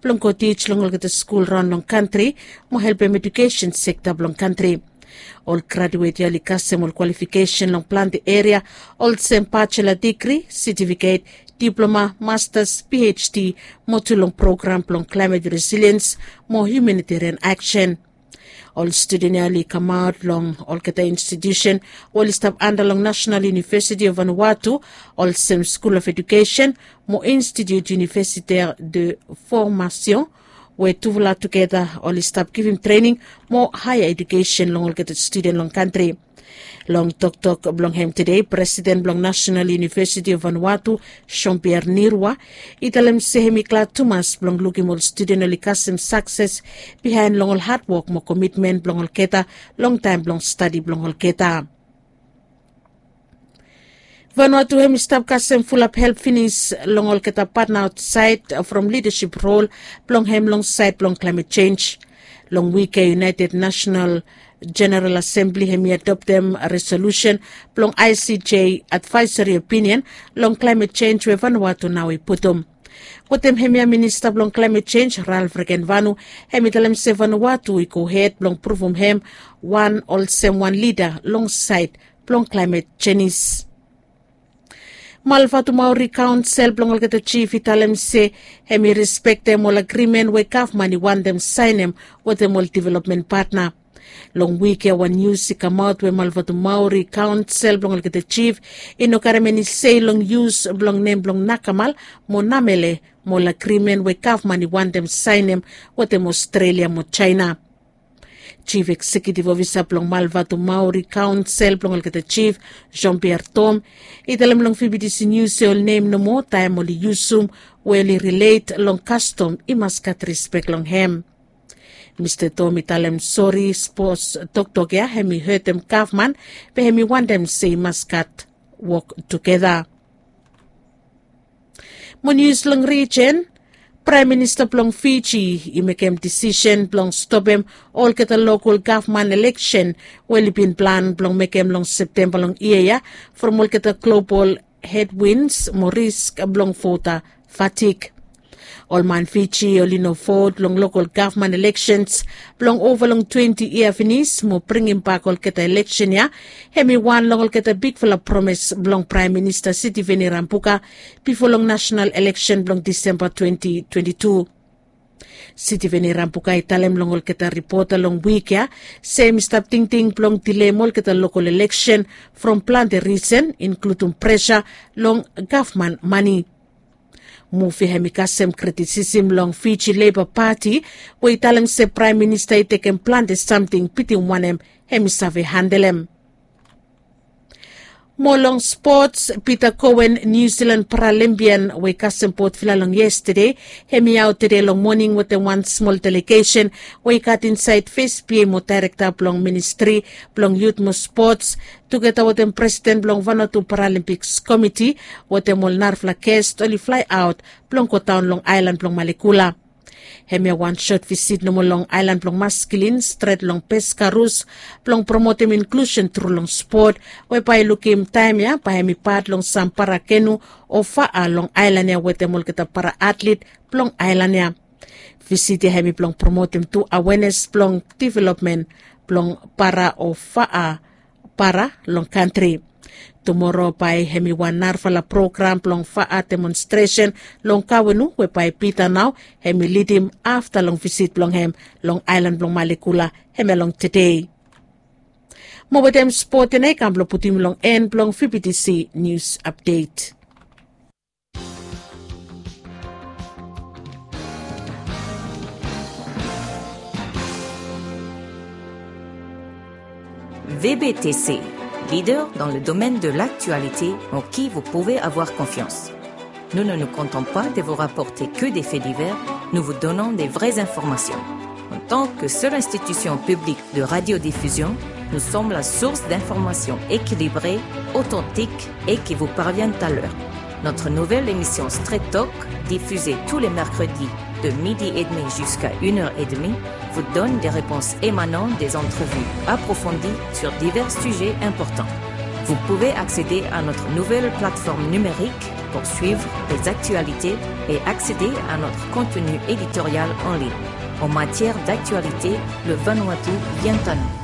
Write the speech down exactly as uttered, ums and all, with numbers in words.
blong go tij long olgeta skul raon long kantri mo helpem ejukesen sekta blong kantri. Ol graduet ya oli kasem ol kwalifikesen long plante eria, olsem bachelor digri, setifiket, diploma, mastas, phd, mo tu long program blong klaemet resiliens mo hiumanitarian aksen. Ol studen ya oli kamaot long olgeta institiusen we oli stap anda long nasenal univesiti of vanuatu, olsem skul of ejukesen mo institut universitaire de formation, we tufala tugeta oli stap givim trening mo haea ejukesen long olgeta studen long kantri. Long toktok blong hem tede, presiden blong nasenal univesiti of vanuatu, jean pierre nirwa, i talem se hem i glad tumas blong lukim ol studen oli kasem sakses bihaen long ol hadwok mo komitmen blong olgeta long taem blong stadi blong olgeta. Vanuatu hem i stap kasem fulap help finis long olgeta patna aotsaed from lidasip rol blong hem long saed blong klaemet jenj. Long wik ya, united nasenal jeneral asembli hem i adoptem resolusen blong icj advaesari opinion long klaemet jenj we vanuatu nao i putum. Wetem hemia minista blong klaemet jenj, ralf regenvanu, hem i talem se vanuatu i gohed blong pruvum hem wan olsem wan lida long saed blong klaemet jenis. Malvatu maori kaonsel blong olgeta jif i talem se hem i respektem ol agrimen we gavman i wantem saenem wetem ol developmen patna. Long wik ya, wan nius i kamaot we malvatu maori kaonsel blong olgeta jif i no karem eni sei long yus blong nem blong nakamal mo namele mo ol agrimen we gavman i wantem saenem wetem aostralia mo jaena. Jif eksekiutiv ofisa blong malvatu maori kaonsel blong olgeta jif, jean pierre tom, i talem long fibitisi nius se ol nem nomo taem oli yusum we oli rilet long kastom i mas gat rispek long hem. Mista tom i talem sori sapos toktok ya hem i hetem gavman, be hem i wantem se i mas gat wok tugeta. Mo nius long rijen, praem minista blong fiji i mekem disisen blong stopem olgeta lokol gavman eleksen we oli bin plan blong mekem long septemba long yia ya, from olgeta global hedwins mo risk blong vota fatik. Ol man fiji oli no vot long lokol gavman eleksens blong ova long twenti yia finis mo bringimbak olgeta eleksen ya, hem i wan long olgeta bigfala promes blong praem minista sitiveni rambuka bifo long nasenal eleksen blong disemba twenti twenti tu. Sitiveni rambuka i talem long olgeta ripota long wik ya se hem i stap tingting blong dilem olgeta lokol eleksen from plante risen, inkludum presa long gavman mane. Muv ya hem i kasem kritisisim long fiji leba pati, we i talem se praem minista i tekem plante samting bitim wanem hem i save handelem. Mo long spots, peter coen, niu silan paralimpian we i kasem botvila long yestade, hem i aot tede long moning wetem wan smol delegesen we i gat insaed fes bia mo daerekta blong ministri blong yut mo spots, tugeta wetem presiden blong vanatu paralimpiks komiti, wetem ol narafala gest oli flae aot blong godaon long aelan blong malekula. Hemia wan sot visit nomo long aelan blong maskilin stret long peskarus, blong promotem inklusen tru long spot, we bae i lukim taem ya bae hem i pat long sam para kenu o faa long aelan ya wetem olgeta para atlit blong aelan ya. Visit ya hem i blong promotem tu awenes blong developmen blong para o faa para long kantri. Tumoro bae hem i wan narafala program blong faa demonstresen long kawenu we bae pita nao hem i lidim afta long visit blong hem long aelan blong malekula, hemia long tede. Mo wetem spot ya nao i kam blong putum long en blong fibitisi nius apdet. V B T C, leader dans le domaine de l'actualité en qui vous pouvez avoir confiance. Nous ne nous contentons pas de vous rapporter que des faits divers, nous vous donnons des vraies informations. En tant que seule institution publique de radiodiffusion, nous sommes la source d'informations équilibrées, authentiques et qui vous parviennent à l'heure. Notre nouvelle émission Straight Talk, diffusée tous les mercredis de midi et demi jusqu'à une heure et demie, vous donne des réponses émanant des entrevues approfondies sur divers sujets importants. Vous pouvez accéder à notre nouvelle plateforme numérique pour suivre les actualités et accéder à notre contenu éditorial en ligne. En matière d'actualité, le Vanuatu vient à nous.